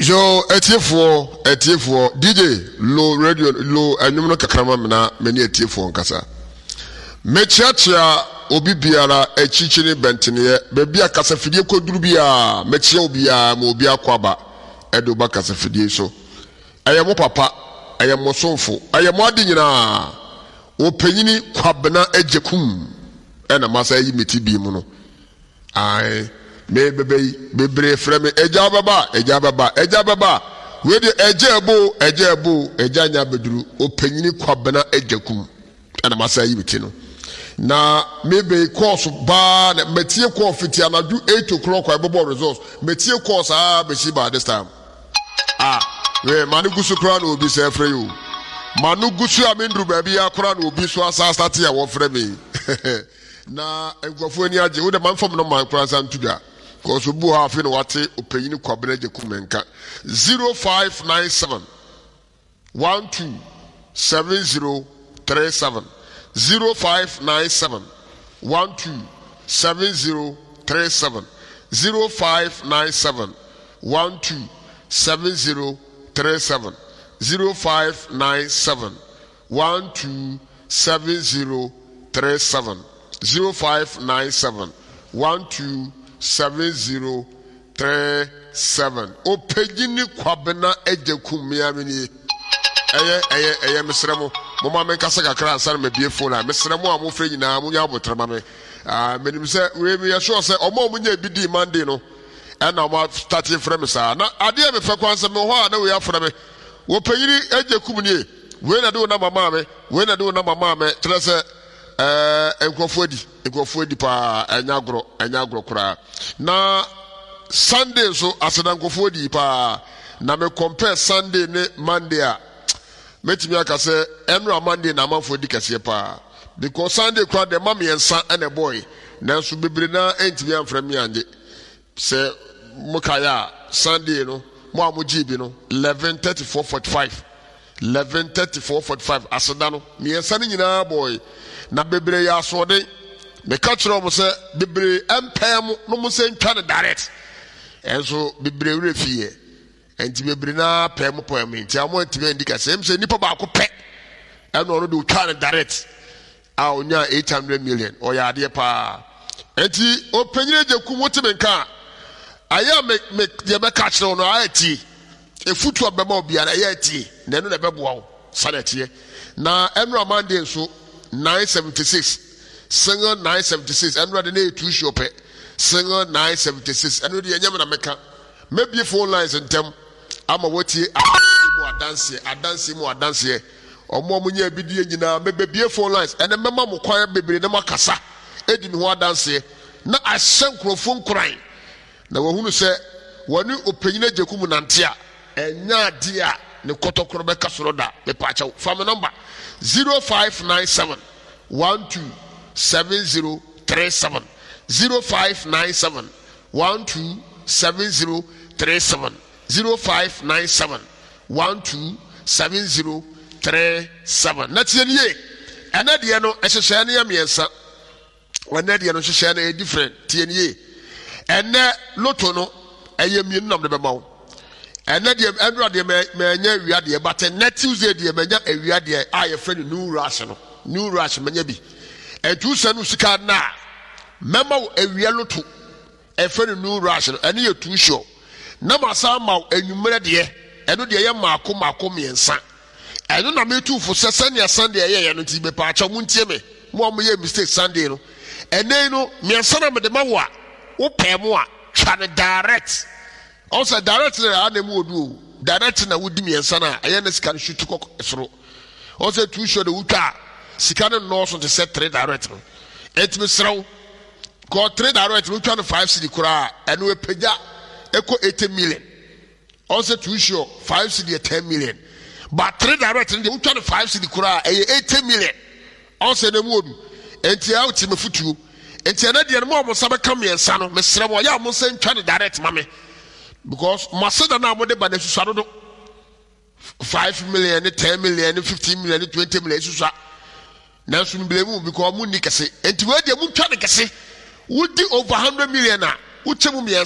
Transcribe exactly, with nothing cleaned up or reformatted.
Yo, atiefoɔ, atiefoɔ, D J low radio, low ɛnwom no kakra ma me na me ne atiefoɔ nkasa. Mekyeakyea obi biara akyikyi ne bɛnteneɛ, baabi a kasafidie kɔduru biara, mekyea obiara ma obi akɔ aba ɛde woba kasafidie so. Ɛyɛ mo papa, ɛyɛ mo somfo, ɛyɛ mo ade nyinaa. Ɔpanyini Kwabena Agyekum ɛna masa ayi me ti bi mu no. Ae, me bɛbɛ yi, bebree frɛ me, agya bɛba, agya bɛba, agya bɛba. Wei deɛ agya ɛbo, agya ɛbo, agya nya abɛduru. Ɔpanyini Kwabena Agyekum ɛna masa ayi me ti no. Na me bɛyi course baa, na metie call fiti anadwo eight o'clock a ɛbɛbɔ results. Metie call saa bɛsi by this time. Ah, wei ma no gu so koraa na obi sɛ ɛfrɛ yi o. Ma no gu so a menduru baabi akora na obi so asa asate a wɔfrɛ me. Na nkurɔfoɔ ani agye. Wo de ma mfam no man koraa nsa nto dwa. Kɔso bu hɔ afei na wate ɔpanyini Kwabena Agyekum nka. zero five nine seven one two seven zero three seven. zero five nine seven one two seven zero three seven. zero five nine seven one two seven zero three seven. zero five nine seven one two seven zero three seven. zero five nine seven one two seven zero three seven. Ɔpanyini Kwabena Agyekum miamini. Ɛyɛ, ɛyɛ, ɛyɛ mesrɛ mo. Mo ma menkasa kakra ansa na mabie phone a. Mesrɛ mo a mofrɛ nyinaa, monya abotrɛ ma me. Ah, menim sɛ wei meyɛ sure sɛ ɔmo a ɔmo nya bi dii Monday no ɛna ɔmo start frɛ me saa. Na adeɛ a mefɛ kwan sɛ mewɔ hɔ a na wei afrɛ me. Ɔpanyini Agyekum nie. Wei na de wo nama maa me. Wei na de wo nama maa me. Kyerɛ sɛ ɛɛ nkurɔfoɔ adi, nkurɔfoɔ adi paa, ɛnyɛ agorɔ, ɛnyɛ agorɔ koraa. Na Sunday nso aseda nkurɔfoɔ adi paa. Na me compare Sunday ne Monday a, mɛtumi aka sɛ ɛnora Monday na amanfoɔ di kɛseɛ paa. Because Sunday koraa deɛ ma mmiɛnsa ɛna ɛbɔɔe. Nanso bebree naa ɛntumi amfrɛ me angye. Sɛ mo kaeɛ a, Sunday no, mo a mo gyee bi no, eleven thirty four forty five. eleven thirty four forty five aseda no mmiɛnsa no nyinaa bɔɔe. Na bebree yɛ asoɔden. Meka kyerɛ wɔn sɛ bebree mpɛɛ mo na mo sɛ ntwa no direct. Ɛnso bebree werɛ fieɛ. Nti bebree naa pɛɛ mo pɛɛ mo nti a wɔn ntumi andi kɛse. Ɛm sɛ nipa baako pɛ ɛna ɔno de otwa no direct a onya eight hundred million. Ɔyɛ adeɛ paa. Nti ɔpanyin Agyekum wote me nka a, ayɛ a me, me deɛ bɛka kyerɛ wo no ayɛ tie. Efutu a bɛma obiara ɛyɛ tie na ɛno na ɛbɛboa wo sani ɛteɛ. Na ɛnora Monday nso nine seventy six single nine seventy six ɛnora de ne yɛ two sure pɛ single nine seventy six ɛno deɛ ɛnyɛ me na mɛka. Mɛbie phone lines ntɛm ama wɔtie adanseɛ mu adanseɛ, adanseɛ mu adanseɛ. Ɔmo a mo nyɛ abidie nyinaa mɛbɛbie phone lines ɛnɛ mɛma mo kwan bebree na mo akasa edi me ho adanseɛ na ahyɛ nkurɔfoɔ nkuran na wɔhunu sɛ wɔne ɔpanyin Agyekum nante a ɛnyɛ adeɛ a ne kɔtɔkorɔ bɛka soro da. Mepaakyɛw fa me nɔmba zero five nine seven one two seven zero three seven. zero five nine seven one two seven zero three seven. zero five nine seven one two seven zero three seven. Na tie nie, ɛnɛ deɛ no ɛhyehyɛ no yɛ mmiɛnsa. Ɛnɛ deɛ no hyehyɛ no yɛ different. Tie nie, ɛnɛ loto no ɛyɛ mmienu nam de bɛma wo. Ɛnɛ deɛ ɛnura deɛ mɛ mɛnya awia deɛ, but ɛnɛ Tuesday deɛ mɛnya awia deɛ a yɛfrɛ no new rush no. New rush mɛnya bi. Ɛntu sɛ no sika na mɛma wo awia loto ɛfrɛ no new rush no, ɛno yɛ too sure. Na ma san ma wo enwummerɛ deɛ, ɛno deɛ yɛ mmaako mmaako mmiɛnsa. Ɛno na metu fo sɛ sɛnea Sunday ɛyɛ yɛ no nti mepaakyɛw mo ntie me. Mo a moyɛ mistake Sunday no, ɛnɛ yi no mmiɛnsa na mede ma wo a wopɛɛ mo a twa no direct. Ɔn sɛ direct na ɛyɛ na mu odu o. Direct na wodi mmiɛnsa na ɛyɛ na sika no shoot kɔ soro. Ɔn sɛ too sure de wotwa a sika no nnɔɔso te sɛ three direct no. Enti mesrɛ wo, kɔ three direct no wotwa no five cedi koraa ɛno epagya ɛkɔ eighty million. Ɔn sɛ too sure five cedi yɛ ten million. But three direct no deɛ wotwa no five cedi koraa ɛyɛ eighty million. Ɔn sɛ na mu odu. Enti ɛyɛ wote me futuo. Enti ɛnɛ deɛ no mo a mo nsa bɛka mmiɛnsa no mesrɛ mo ɔyɛ a mo nsa ntwa no direct ma me. Because mo aseda no a mode ba no asusua dodo. five million ne ten million ne fifteen million ne twenty million asusua. Nanso me blame mu because mo nni kɛse. Enti wei deɛ mo ntwa no kɛse. Wodi over hundred million a wokyɛ mu mmiɛnsa.